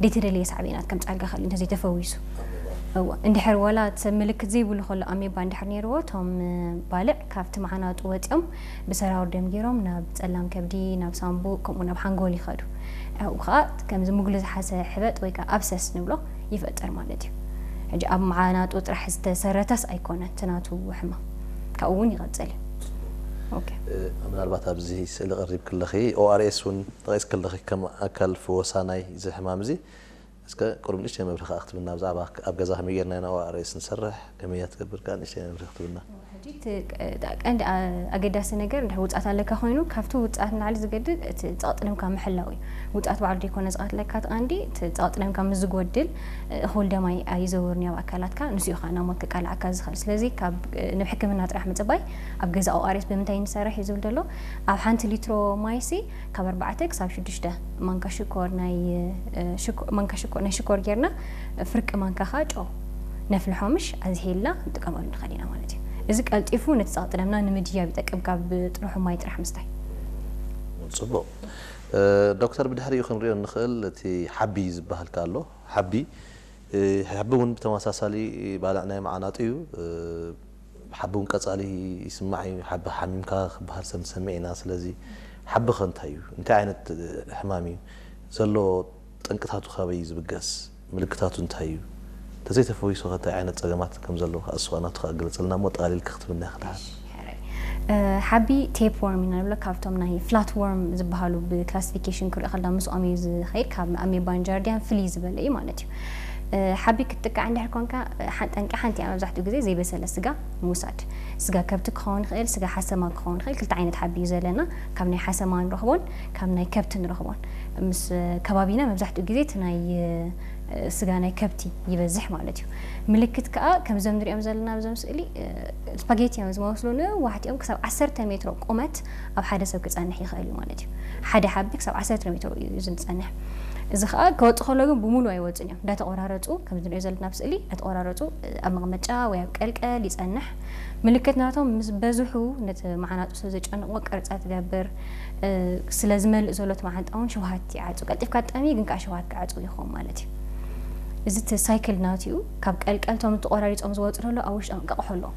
ዘይተደለየ ሳዕቤናት ከምጻልካ ክእል እንተዘይተፈዊሱ። እወ፣ እንድሕር ዋላ እቲ ሰብ ምልክት ዘይብሉ ከሎ ኣሜባ እንድሕር ነይርዎ፣ እቶም ባልዕ ካብቲ መዓናጡ ወጺኦም ብሰራውር ደም ገይሮም ናብ ጸላም ከብዲ፣ ናብ ሳንቡእ፣ ከምኡ ናብ ሓንጎል ይኸዱ። ኣብኡ ከዓ ከምዚ ሙግሊ ዝሓዘ ሕበጥ ወይ ከዓ ኣብሰስ ንብሎ ይፈጥር ማለት እዩ። ሕጂ ኣብ መዓናጡ ጥራሕ ዝተሰረተስ ኣይኮነን እቲ ናቱ ሕማም፣ ካብኡ እውን ይቐጽል እዩ። ኦኬ። ምናልባት ኣብዚ ስእሊ ቀሪብ ክለኺ ኦኣርኤስ እውን ጠቂስ ክለኺ ከም ኣካል ፍወሳ ናይ እዚ ሕማም እዚ እስከ ቁሩብ ንእሽተይ መብርሂ ከዓ ክትብና ብዛዕባ ኣብ ገዛ ከመይ ጌርና ኢና ኦኣርኤስ ንሰርሕ ከመይ እያ ትገብር ከዓ ንእሽተይ መብርሂ ክትብና። ሕጂ እቲ ቀንዲ ኣገዳሲ ነገር እንድሕር ውፅኣት ኣለካ ኮይኑ ካብቲ ውፅኣት ንላዕሊ ዝገድድ እቲ ፀቕጢ ደምካ ምሕላው እዩ። ውፅኣት ባዕሉ ዘይኮነ ዝቐትለካ እቲ ቀንዲ እቲ ፀቕጢ ደምካ ምስ ዝጎድል እኹል ደም ኣይዘውርን እዩ ኣብ ኣካላትካ፣ ንሱ እዩ ከዓ ናብ ሞት ከቃልዓካ ዝኽእል። ስለዚ ካብ ናብ ሕክምና ጥራሕ ምፅባይ ኣብ ገዛ ኦኣርኤስ ብምንታይ ንሰርሕ እዩ ዝብል ዘሎ ኣብ ሓንቲ ሊትሮ ማይሲ ካብ ኣርባዕተ ክሳብ ሽዱሽተ ማንካ ሽኮር ናይ ማንካ ሽኮር ናይ ሽኮር ጌርና ፍርቂ ማንካ ከዓ ጨው ነፍልሖ ምሽ ኣዝሄልና ንጥቀመሉ ንኽእል ኢና ማለት እዩ። እዚ ቀልጢፉ ነቲ ፀቕጢ ደምና ንምድያብ ይጠቅም ካብ ጥርሑ ማይ ጥራሕ ምስታይ። ፅቡቕ ዶክተር፣ ብድሕሪኡ ክንሪኦ እንኽእል እቲ ሓቢ ዝበሃል ኣሎ። ሓቢ ሓቢ እውን ብተመሳሳሊ ባልዕ ናይ መዓናጡ እዩ። ሓቢ እውን ቀፃሊ ይስማዕ እዩ። ሓቢ ሓሚምካ ክበሃል ሰብ ንሰምዕ ኢና። ስለዚ ሓቢ ከ እንታይ እዩ? እንታይ ዓይነት ሕማም እዩ? ዘሎ ጠንቅታቱ ካበይ እዩ ዝብገስ? ምልክታቱ እንታይ እዩ? እንተዘይተፈዊሱ ከ እንታይ ዓይነት ፀገማት ከም ዘለዎ ከኣ እሱ ናቱ ከኣ ግለፀልና እሞ ጠቓሊልካ ክትብልና ኢኻ ደሓር። ሓቢ ቴፕ ወርም ኢና ንብሎ ካብቶም ናይ ፍላት ወርም ዝበሃሉ ብክላሲፊኬሽን ክሪኦ ከለና ምስኦም እዩ ዝኸይድ ካብ ኣሜባን ጃርዲያን ፍልይ ዝበለ እዩ ማለት እዩ። ሓቢ ክትጥቃዕ እንድሕር ኮንካ ጠንቂ ሓንቲ እያ መብዛሕትኡ ግዜ ዘይበሰለ ስጋ ምውሳድ። ስጋ ከብቲ ክኸውን ይኽእል፣ ስጋ ሓሰማ ክኸውን ይኽእል። ክልተ ዓይነት ሓቢ እዩ ዘለና። ካብ ናይ ሓሰማ ንረኽቦን ካብ ናይ ከብቲ ንረኽቦን። ምስ ከባቢና መብዛሕትኡ ግዜ እቲ ናይ ስጋ ናይ ከብቲ ይበዝሕ ማለት እዩ። ምልክት ከዓ ከምዞም ንሪኦም ዘለና ኣብዞም ስእሊ ስፓጌቲ እዮም ዝመስሉ፣ ነዋሕቲ እዮም። ክሳብ ዓሰርተ ሜትሮ ቁመት ኣብ ሓደ ሰብ ክፀንሕ ይኽእል እዩ ማለት እዩ። ሓደ ሓቢ ክሳብ ዓሰርተ ሜትሮ እዩ ዝፀንሕ። እዚ ከዓ ክወፅ ከሎ ግን ብሙሉ ኣይወፅን እዮም። እንዳተቆራረፁ ከምዚ ንሪኦ ዘለና ኣብ ስእሊ እንዳተቆራረፁ ኣብ መቐመጫ ወይ ኣብ ቀልቀል ይፀንሕ። ምልክት ናቶም ምስ በዝሑ ነቲ መዓናጡ ስለ ዘጨንቆ ቅርፀት ይገብር። ስለ ዝመልእ ዘሎ እቲ መዓንጣ እውን ሽውሃት ይዓፁ። ቀልጢፍካ ትጠሚ ግን ከዓ ሽውሃት ክዓፁ ይኸውን ማለት እዩ። እዚ እቲ ሳይክል ናቱ እዩ። ካብ ቀልቀል እቶም ተቆራሪፆም ዝወፁ ዘሎ ኣብ ውሽጦም እንቃቕሖ ኣለዎም።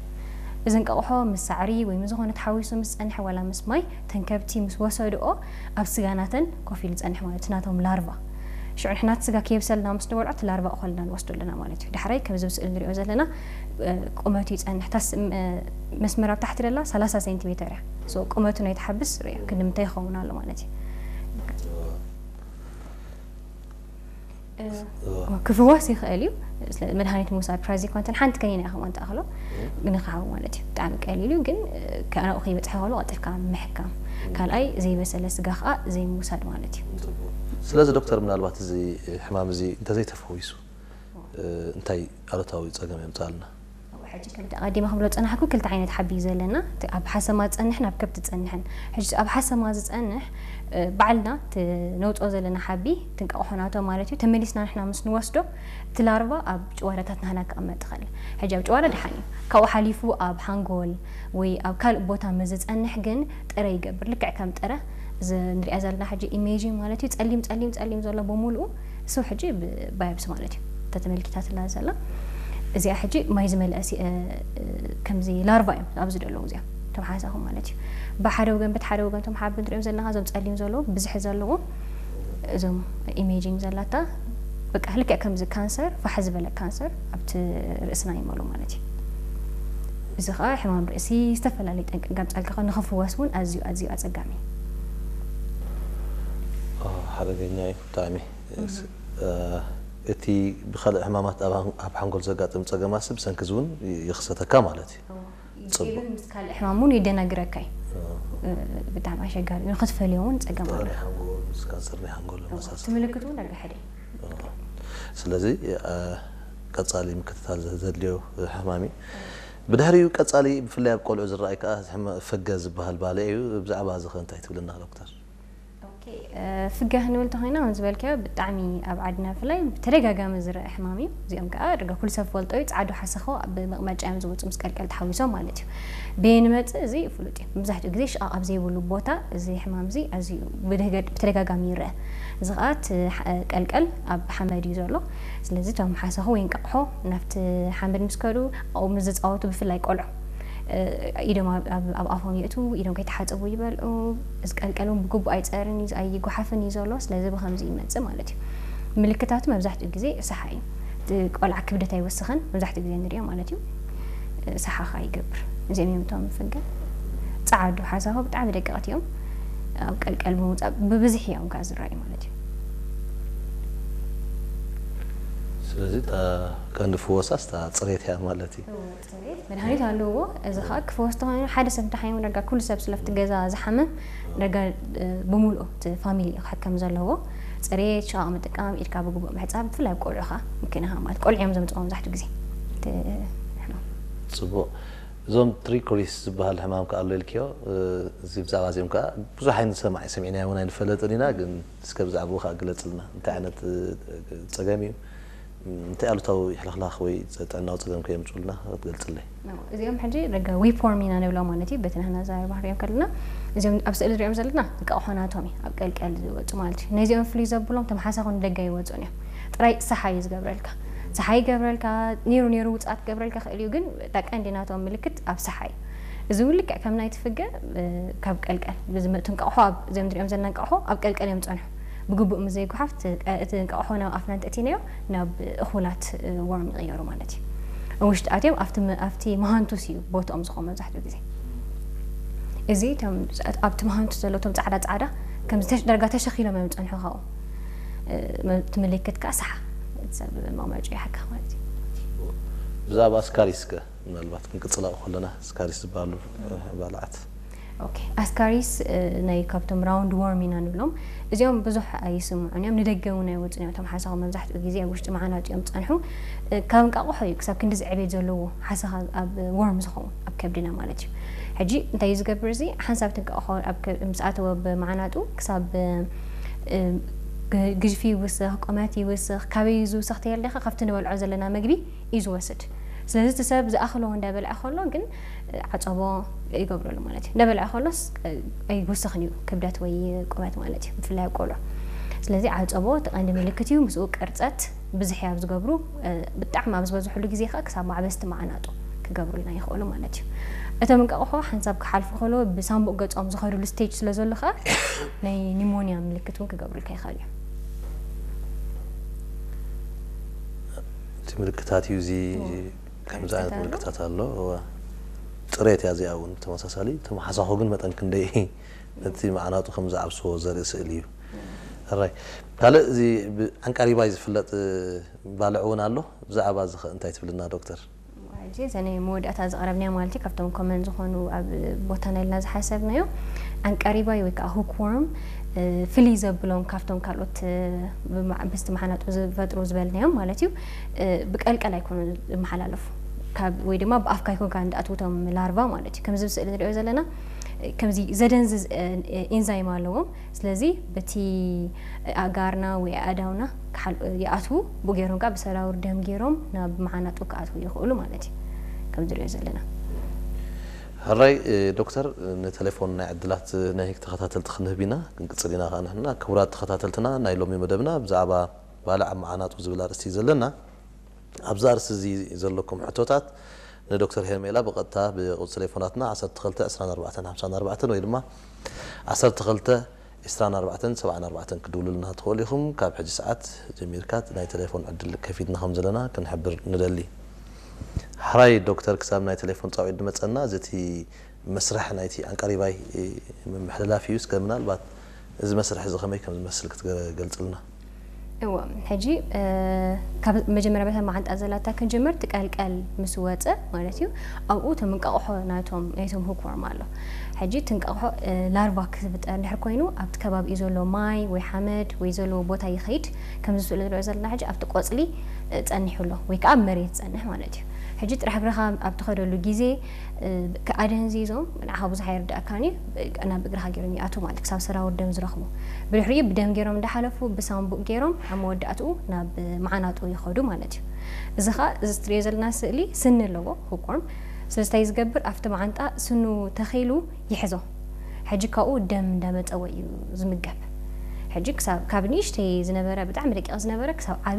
እዚ እንቃቕሖ ምስ ሳዕሪ ወይ ምስ ዝኾነ ተሓዊሱ ምስ ፀንሐ ዋላ ምስ ማይ ተን ከብቲ ምስ ወሰድኦ ኣብ ስጋ ናተን ኮፍ ኢሉ ዝፀንሕ ማለት እዩ። ናቶም ላርቫ ሽዑ ንሕና እቲ ስጋ ከየብሰልና ምስ ንበልዖ እቲ ላርቫ እኾልና ንወስዶ ኣለና ማለት እዩ። ዳሕራይ ከምዚ ኣብ ስእሊ ንሪኦ ዘለና ቁመቱ ይፀንሕ። እታ መስመር ኣብ ታሕቲ ደላ ሰላሳ ሴንቲሜተር እያ። ቁመቱ ናይቲ ሓብስ ሪኦ ክንዲ ምንታይ ይኸውን ኣሎ ማለት እዩ። ክፍወስ ይኽእል እዩ። መድሃኒት ምውሳድ ፕራዚኮንተን ሓንቲ ከኒና ኢኻ ማን ትኣኽሎ ንክሓዊ ማለት እዩ። ብጣዕሚ ቀሊል እዩ ግን ከናኡ ከይበፅሐ ከሎ ቀልጢፍካ ምሕካም። ካልኣይ ዘይበሰለ ስጋ ከዓ ዘይምውሳድ ማለት እዩ። ስለዚ ዶክተር ምናልባት እዚ ሕማም እዚ እንተዘይተፈዊሱ እንታይ ኣሉታዊ ፀገም የምፅኣልና? ሕጂ ከምቲ ኣቐዲመ ክብሎ ዝፀናሕኩ ክልተ ዓይነት ሓቢ እዩ ዘለና። እቲ ኣብ ሓሰማ ዝፀንሕን ኣብ ከብቲ ዝፀንሕን። ሕጂ ኣብ ሓሰማ ዝፀንሕ ባዕልና እቲ ነውፅኦ ዘለና ሓቢ ትንቃቕሖ ናቶ ማለት እዩ። ተመሊስና ንሕና ምስ ንወስዶ እቲ ላርቫ ኣብ ጭዋዳታት ናህና ክቕመጥ ይኽእል። ሕጂ ኣብ ጭዋዳ ደሓን እዩ። ካብኡ ሓሊፉ ኣብ ሓንጎል ወይ ኣብ ካልእ ቦታ ምስ ዝፀንሕ ግን ጥረ ይገብር። ልክዕ ከም ጥረ እዚ ንሪኣ ዘለና ሕጂ ኢሜጂን ማለት እዩ። ጸሊም ጸሊም ጸሊም ዘሎ ብምሉኡ እሱ ሕጂ ባዮፕሲ ማለት እዩ። እታ ተመልኪታትላ ዘላ እዚኣ ሕጂ ማይ ዝመልአ ከምዚ ላርቫ እዮም ኣብዚ ዘለዉ እዚኣ እቶም ሓሳኹም ማለት እዩ። ብሓደ ወገን በቲ ሓደ ወገን እቶም ሓቢ ንሪኦም ዘለና እዞም ጸሊም ዘለዉ ብዝሒ ዘለዎም እዞም ኢሜጂንግ ዘላታ በቃ ልክዕ ከምዚ ካንሰር ፋሕ ዝበለ ካንሰር ኣብቲ ርእስና ይመሉ ማለት እዩ። እዚ ከዓ ሕማም ርእሲ ዝተፈላለዩ ጠንቂ ከምፀልካ ከ ንክፍወስ እውን ኣዝዩ ኣዝዩ ኣፀጋሚ እዩ። ሓደገኛ እዩ ብጣዕሚ። እቲ ብካልእ ሕማማት ኣብ ሓንጎል ዘጋጥም ፀገማሲ ብሰንኪ እዚ እውን ይኽሰተካ ማለት እዩ። ጽቡቅ። ምስ ካልእ ሕማም እውን የደናግረካ እዩ። ብጣዕሚ ኣሸጋሪ እዩ። ንክትፈልዮ እውን ፀገም ኣሎ። ናይ ሓንጎል ምስ ካንሰር ናይ ሓንጎል መሳሰል። ምልክት እውን ዳርጋ ሓደ እዩ። ስለዚ ቀፃሊ ምክትታል ዘድልዮ ሕማም እዩ። ብድሕሪኡ ቀፃሊ ብፍላይ ኣብ ቆልዑ ዝረኣይ ከዓ ፈገ ዝበሃል ባልዕ እዩ። ብዛዕባ እዚ ከ እንታይ ትብልና ዶክተር? ፍገ ክንብል እንተኾይና፣ ከም ዝበልካዮ፣ ብጣዕሚ ኣብ ዓድና ብፍላይ ብተደጋጋሚ ዝረአ ሕማም እዩ። እዚኦም ከዓ ደጋ ኩሉ ሰብ ፈልጦ እዩ። ጻዕዱ ሓሰኾ ኣብ መቕመጫ እዮም ዝወፁ፣ ምስ ቀልቀል ተሓዊሶም ማለት እዩ። በየን ይመፅእ እዚ ፍሉጥ እዩ። መብዛሕትኡ ግዜ ሽቓቕ ኣብ ዘይብሉ ቦታ እዚ ሕማም እዚ ኣዝዩ ብደገ-፣ ብተደጋጋሚ ይረአ። እዚ ከዓ እቲ ሓ-፣ ቀልቀል ኣብ ሓመድ እዩ ዘሎ። ስለዚ እቶም ሓሰኹ ወይ እንቃቑሖ ናብቲ ሓመድ ምስ ከዱ ኣብኡ ምስ ዝፃወቱ፣ ብፍላይ ቆልዑ፣ እ፣ ኢዶም ኣብ፣ ኣብ፣ ኣብ ኣፎም የእትዉ፣ ኢዶም ከይተሓፀቡ ይበልዑ። እዚ ቀልቀል እውን ብግቡእ ኣይፀርን እዩ፣ ኣይጓሓፍን እዩ ዘሎ። ስለዚ ብኸምዚ ይመፅእ ማለት እዩ። ምልክታቱ መብዛሕትኡ ግዜ ሰሓ እዩ። እቲ ቆልዓ ክብደት ኣይወስኽን፣ መብዛሕትኡ ግዜ ንሪኦ ማለት እዩ። እ፣ ሰሓ ኸዓ ይገብር። እዚኦም እዮም እቶም ፍገ። ጸዓዱ ሓሳኹ ብጣዕሚ ደቀቕቲ እዮም። ኣብ ቀልቀል ብምውጻእ ብብዝሒ እዮም ከኣ ዝረኣዩ ማለት እዩ። ስለዚ እታ ቀንዲ ፍወሳስ እታ ጽሬት እያ ማለት እዩ። ጽሬት መድሃኒት ኣለዎ። እዚ ኸኣ ክፈወስ ተኾይኑ ሓደ ሰብ እንተሓይሙ፣ ዳርጋ ኩሉ ሰብ ስለፍቲ ገዛ ዝሓመ፣ ዳርጋ፣ እ፣ ብምሉኡ እቲ ፋሚሊ እዩ ክሕከም ዘለዎ። ጽሬት፣ ሽቓቕ ምጥቃም፣ ኢድካ ብግቡእ ምሕጻብ፣ ብፍላይ ኣብ ቆልዑ ኸኣ ምክንያት ማለት ቆልዑ እዮም ዘምጽኦ መብዛሕትኡ ግዜ። እቲ ሕማም። ጽቡቕ። እዞም ትሪኮሪስ ዝበሃል ሕማም ከኣ ኣሎ ኢልክዮ፣ እ፣ እዚ ብዛዕባ እዚኦም ከኣ ብዙሕ ኣይንሰማዕ፣ ሰሚዕናዮ እውን ኣይንፈለጥን ኢና፣ ግን እስከ ብዛዕባኡ ከኣ ግለጽልና። እንታይ ዓይነት፣ እ፣ ጸገም እዩ? እንታይ ኣሉታዊ ሕልኽላኽ ወይ ጥዕናዊ ጸገም ከየምጽኡልና ክትገልጽለይ? እዚኦም ሕጂ ደገ ዊፕ ዎርም ኢና ንብሎም ማለት እዩ፣ በቲ ንሕና ዘራሪ ባህርዮም ከለና። እዚኦም ኣብ ስእሊ ንሪኦም ዘለና እንቃቑሖ ናቶም እዩ፣ ኣብ ቀልቀል ዝወጹ ማለት እዩ። ነዚኦም ፍልይ ዘብሎም፣ እቶም ሓሳኹ ንደገ ይወጹን እዮም። ጥራይ ሰሓ እዩ ዝገብረልካ። ሰሓ ይገብረልካ፣ ኔሩ ኔሩ ውጽኣት ክገብረልካ ክእል እዩ፣ ግን እታ ቀንዲ ናቶም ምልክት ኣብ ሰሓ እዩ። እዚ እውን ልክዕ ከም ናይቲ ፍገ፣ እ፣ ካብ ቀልቀል ብዝመ-፣ እቲ እንቃቑሖ ኣብ፣ እዚኦም ንሪኦም ዘለና እንቃቑሖ ኣብ ቀልቀል እዮም ዝጸንሑ። ብግቡእ ምስ ዘይጓሓፍ፣ እቲ ቀ-፣ እቲ እንቃቑሖ ናብ ኣፍና እንተእቲናዮ፣ ናብ እኹላት፣ እ፣ ዎርም ይቕየሩ ማለት እዩ። ኣብ ውሽጢ ኣትዮም ኣብቲ መ-፣ ኣብቲ መሃንቱስ እዩ ቦትኦም ዝኾኑ መብዛሕትኡ ግዜ። እዚ እቶም ኣብቲ መሃንቱስ ዘሎ እቶም ጻዕዳ ጻዕዳ ከም ዝተሽ-፣ ዳርጋ ተሸኺሎም እዮም ዝጸንሑ ካብኡ። እ፣ መ-፣ እቲ ምልክት ከኣ ሰሓ፣ እቲ ሰብ መቕመጪ ይሓካ ማለት እዩ። ብዛዕባ ስካሪስ ከ ምናልባት ክንቅጽል ኣብኡ ከለና፣ ስካሪስ ዝበሃሉ፣ እ፣ ባልዓት። ኦኬ፣ ኣስካሪስ፣ እ፣ ናይ ካብቶም ራውንድ ዎርም ኢና ንብሎም። እዚኦም ብዙሕ ኣይስምዑን እዮም፣ ንደገ እውን ኣይወጹን እዮም። እቶም ሓሳኹ መብዛሕትኡ ግዜ ኣብ ውሽጢ መዓናጡ እዮም ዝጸንሑ። እ፣ ካብ እንቃቑሖ እዩ ክሳብ ክንድዚ ዕቤት ዘለዎ ሓሳኻ ኣብ ዎርም ዝኸውን፣ ኣብ ከብድና ማለት እዩ። ሕጂ እንታይ እዩ ዝገብር እዚ? ሓንሳብ እቲ እንቃቑሖ ኣብ ከ-፣ ምስ ኣተወ ብመዓናጡ ክሳብ፣ እ፣ ግ-፣ ግዝፊ ይውስኽ፣ ቁመት ይውስኽ። ካበይ እዩ ዝውስኽ ተየለኻ? ካብቲ ንበልዖ ዘለና መግቢ እዩ ዝወስድ። ስለዚ እቲ ሰብ ዝኣኽሎ እንዳበልዐ ከሎ ግን ዓጸቦ ይገብረሉ ማለት እዩ። እንዳበልዐ ከሎስ ኣይውስኽን እዩ ክብደት ወይ ቁመት ማለት እዩ፣ ብፍላይ ኣብ ቆልዑ። ስለዚ ዓጸቦ እቲ ቀንዲ ምልክት እዩ። ምስኡ ቅርጸት ብዝሒ ኣብ ዝገብሩ፣ ብጣዕሚ ኣብ ዝበዝሕሉ ግዜ ከኣ ክሳብ ማዕበስቲ መዓናጡ ክገብሩልና ይኽእሉ ማለት እዩ። እቶም እንቃቑሖ ሓንሳብ ክሓልፉ ከሎ ብሳምቡእ ገጾም ዝኸዱሉ ስቴጅ ስለ ዘሎ ከኣ ናይ ኒሞንያ ምልክት እውን ክገብሩልካ ይኽእሉ እዮም። እቲ ምልክታት እዩ እዚ፣ እዎ። ከምዚ ዓይነት ምልክታት ኣሎ። ምልክታት ኣሎ። እወ። ጽሬት እያ እዚኣ እውን ብተመሳሳሊ። እቶም ሓሳኹ ግን መጠን ክንደይ ነቲ መዓናጡ ከም ዝዓብስዎ ዘርኢ ስእሊ እዩ። ሕራይ። ካልእ እዚ ብዓንቃሪባይ ዝፍለጥ ባልዕ እውን ኣሎ። ብዛዕባ እዚ ኸ እንታይ ትብልና ዶክተር? ሕጂ እዘን መወዳእታ ዝቐረብናዮ ማለት እዩ፣ ካብቶም ኮመን ዝኾኑ ኣብ ቦታና ኢልና ዝሓሰብናዮ፣ ዓንቃሪባይ ወይ ከዓ ሁክዎርም፣ እ፣ ፍልይ ዘብሎም ካብቶም ካልኦት፣ እ፣ ብመዓ-፣ ምስቲ መሓናጡ ዝፈጥሩ ዝበልናዮም ማለት እዩ፣ እ፣ ብቀልቀል ኣይኮኑን ዝመሓላለፉ። ካብ፣ ወይ ድማ ብኣፍ ካይኮ ጋር እንዳኣትዉ እቶም ላርቫ ማለት እዩ። ከምዚ ኣብ ስእሊ ንሪኦ ዘለና፣ እ፣ ከምዚ ዘደንዝዝ፣ እ፣ እ፣ ኢንዛይም ኣለዎም። ስለዚ በቲ ኣእጋርና ወይ ኣእዳውና ክሓል-፣ ይኣትዉ፣ ብኡ ገይሮም ከኣ ብሰራውር ደም ገይሮም ናብ መዓናጡ ክኣትዉ ይኽእሉ ማለት እዩ፣ ከም ዝሪኦ ዘለና። ሕራይ፣ እ፣ ዶክተር፣ ንቴሌፎን ናይ ዕድላት ናይ ተኸታተልቲ ክንህብ ኢና፣ ክንቅጽል ኢና ከኣ ንሕና። ክቡራት ተኸታተልትና፣ ናይ ሎሚ መደብና ብዛዕባ ባልዕ ኣብ መዓናጡ ዝብል ኣርእስቲ እዩ ዘለና። ኣብዚ ኣርእስቲ እዚ ዘለኩም ሕቶታት ንዶክተር ሄርሜላ ብቐጥታ ብቁጽሪ ቴሌፎናትና ዓሰርተ ክልተ ዕስራን ኣርባዕተን ሓምሳን ኣርባዕተን ወይ ድማ ዓሰርተ ክልተ ዕስራን ኣርባዕተን ሰብዓን ኣርባዕተን ክድውሉልና ትኽእሉ ኢኹም። ካብ ሕጂ ሰዓት ጀሚርካ ናይ ቴሌፎን ዕድል ከፊትና ከም ዘለና ክንሕብር ንደሊ። ሕራይ ዶክተር፣ ክሳብ ናይ ቴሌፎን ጻውዒት ዝመጸና፣ እዚ እቲ መስርሕ ናይቲ ዓንቃሪባይ ምምሕልላፍ እዩ። እስከ ምናልባት እዚ መስርሕ እዚ ከመይ ከም ዝመስል ክትገልጽልና? እወ፣ ሕጂ፣ እ፣ ካብ መጀመርያ በታ መዓንጣ ዘላታ ክንጅምር፣ ትቀልቀል ምስ ወጸ ማለት እዩ። ኣብኡ እቶም እንቃቑሖ ናይቶም፣ ናይቶም ሁክዎርም ኣሎ። ሕጂ እቲ እንቃቑሖ፣ እ፣ ላርቫ ክፍጠር እንድሕር ኮይኑ፣ ኣብቲ ከባቢኡ ዘሎ ማይ ወይ ሓመድ ወይ ዘለዎ ቦታ ይኸይድ። ከምዚ ስእሊ ንሪኦ ዘለና ሕጂ ኣብቲ ቆጽሊ፣ እ፣ ጸኒሑ ኣሎ፣ ወይ ከዓ ኣብ መሬት ይጸንሕ ማለት እዩ። ሕጂ ጥራሕ እግርኻ ኣብ ትኸደሉ ግዜ ኣደንዚዞም ንዓኻ ብዙሕ ኣይርዳእካን እዩ። ናብ እግርኻ ገይሮም ይኣትዉ ማለት ክሳብ ሰራውር ደም ዝረኽቡ። ብድሕሪኡ ብደም ገይሮም እንዳሓለፉ ብሳንቡእ ገይሮም ኣብ መወዳእትኡ ናብ መዓናጡ ይኸዱ ማለት እዩ። እዚ ኸዓ እዚ ትሪኦ ዘለና ስእሊ ስኒ ኣለዎ፣ ሁክወርም። ስለዚ እንታይ ዝገብር ኣብቲ መዓንጣ ስኑ ተኺሉ ይሕዞ። ሕጂ ካብኡ ደም እንዳመጸወ እዩ ዝምገብ። ሕጂ ክሳብ ካብ ንእሽተይ ዝነበረ ብጣዕሚ ደቂቕ ዝነበረ ክሳብ ዓብዪ